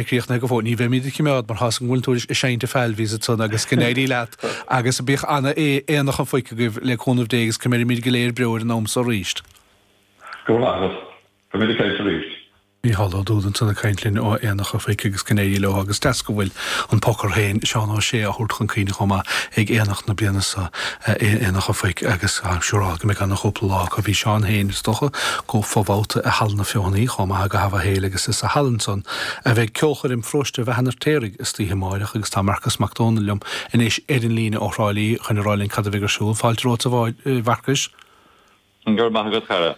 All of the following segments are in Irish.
Críochnaithe go fóill. Ní bheimid id choimeád mar tá's agam go bhfuil tú ag seinnt an Falvey's ansan agus go n-éirí leat agus bíodh ana Aonach an Phoic agaibh le cúnamh Dé agus coimeádfaimid go léir beo ar an am so arís. Go raibh maith agat. Beimid ag caint arís. Mícheál Ó Dúda ansan ag caint linn ó Aonach an Phoic agus go n-éirí leo agus deas go bhfuil an pocar féin, Seán Ó Sé, á thabhairt chun cuimhne chomh maith ag Aonach na bliana seo, Aonach an Phoic agus táim siúráilte go mbeidh ana-chúpla lá acu. Bhí Seán féin, is dócha, go fo-bhabhta i Halla na Feothanaí chomh maith go hAvahéil agus is sa halla ansan a bheidh ceolchoirm Pharóiste Bheatha an Fheirtéaraigh istoíche amáireach agus tá Marcus Mac Dónaill liom anois ar an líne ó Thrá Lí chun a rá linn cad a bheidh ar siúl. Fáilte romhat a Mharcais. Go raibh maith agat, chara.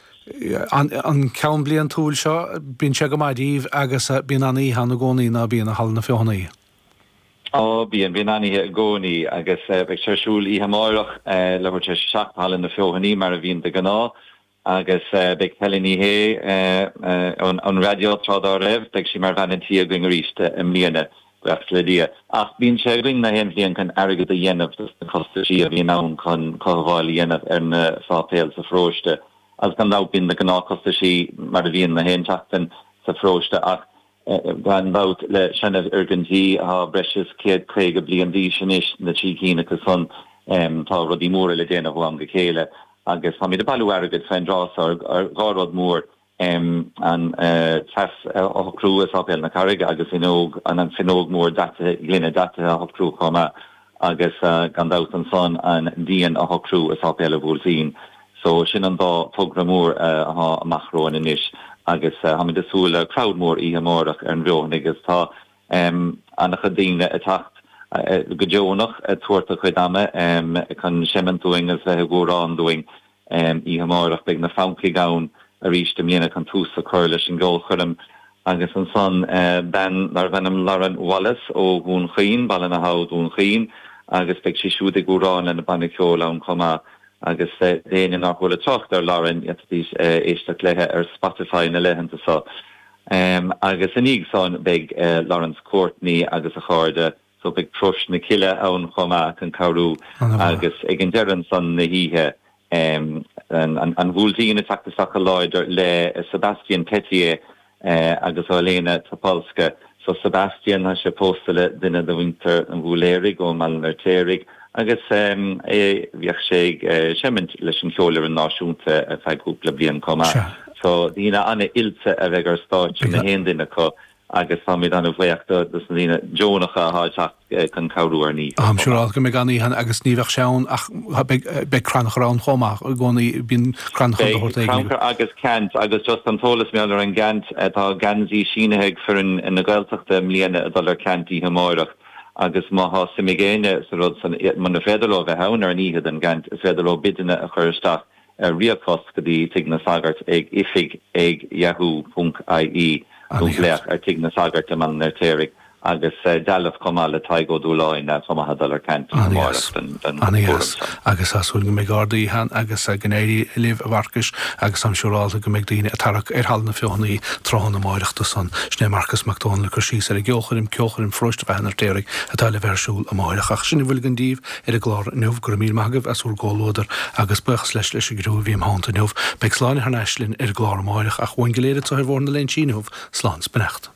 An ceann bliantúil seo, bíonn sé go maith díbh agus bíonn an-oíche ann i gcónaí, ná bíonn, i Halla na Feothanaí? Ó, bíonn, bíonn an-oíche i gcónaí agus beidh sé ar siúl oíche amárach, leathuair tar éis a 7 i Halla na Feothanaí mar a bhíonn de ghnáth agus beidh Helen Ní Shé ón raidió tráth dá raibh, beidh sí mar bhean an tí againn arís i mbliana. Buíochas le Dia. Ach bíonn sé againn na haon bhliain chun airgead a dhéanamh dos na costaisí a bhíonn ann chun cothabháil a dhéanamh ar na sáipéil sa pharóiste. Agus gan dabht bíonn na gnáthchostaisí mar a bhíonn na haon tseachtain sa pharóiste ach gan dabht le seanfhoirgintí atá breis is 150 bliain d'aois anois, na trí cinn acu san, tá rudaí móra le déanamh ó am go chéile agus táimid ag bailiú airgid fén dtráth so ar dhá rud mór. an teas a shocrú i Sáipéal na Carraige agus fhuinneog, an fuinneog mór daitithe, gloine daitithe a shocrú chomh maith agus gan dabht ansan an díon a shocrú i Sáipéal an Bhuailtín. So sin an dá togra mór athá amach romhainn anois agus táimid ag súil le crowd mór oíche amárach ar an bhFeothanaigh agus tá an-chuid daoine ag teacht go deonach ag tabhairt a chuid ama chun seimint dúinn agus bheith ag amhrán dúinn. Oíche amárach beidh na Francaigh ann arís i mbliana chun tús a chur leis an gceolchoirm agus ansan bean darbh ainm Lauren Wallace ó Dhún Chaoin, Baile na hAbha, Dún Chaoin agus beidh sí siúd ag amhrán lena banna ceoil ann chomh maith agus d'éinne nár chuala trácht ar Lauren d'fhéadfaidís éisteacht léithe ar Spotify na laethanta seo. Agus i ndiaidh san beidh Laurence Courtney agus a chairde So beidh Crois na Cille ann chomh maith chun cabhrú agus ag an deireadh ansan na hoíche an Bhuailtín ag teacht isteach go láidir le Sebastien Tellier agus Olena Topolska. So Sebastien, tá sé pósta le duine de mhuintir an Bhúiléaraigh ó mBaile an Fheirtéaraigh agus é bhíodh sé ag seimint leis an Cheolfhoireann Náisiúnta ar feadh cúpla bliain chomh maith. So daoine an-oilte a bheidh ar stáitse na haon duine acu. agus táimid an-bhuíoch do na daoine deonacha atá ag teacht chun cabhrú ar an oíche. Táim siúráilte go mbeidh an-oíche ann agus ní bheadh sé ann ach beidh crannchur ann chomh maith i gcónaí, bíonn crannchur de shórt éigin. Beidh crannchur agus ceant agus just an t-eolas mar gheall ar an gceant, tá geansaí sínithe ag foireann na Gaeltachta i mbliana ag dul ar ceant oíche amáireach agus má thá suim ag éinne sa rud san, muna féidir leo bheith ann ar an oíche don gceant, is féidir leo bideanna a chur isteach ar ríomhphost go dtí Tigh na Sagart ag oifig ag yahoo ponc ie nó glaoch ar Tigh na Sagart i mBaile an Fheirtéaraigh agus dealbh chomh maith le Tadhg Ó Dúláin chomh maith ag dul ar ceant amárach don chúram seo. Agus tá súil go mbeidh ard-oíche ann agus go n-éirí libh a Mharcais agus táim siúrálta go mbeidh daoine ag tarrac ar Halla na Feothanaí tráthnóna amáireach do san. Sin é Marcas Mac Dónaill ag cur síos ar an gceolchoirm, Ceolchoirm Pharóiste Bheatha an Fheirtéaraigh atá le bheith ar siúl amáireach. Ach sin a bhfuil againn díbh. ar an gclár inniu. Go raibh míle maith agaibh as bhur gcomhluadar agus buíochas leis leis an gcriú a bhí im theannta inniu. Beidh Sláine thar n-ais linn ar an gclár amáireach ach uainn go léir anseo ar Bhóthar na Léinsí inniu, slán 's beannacht.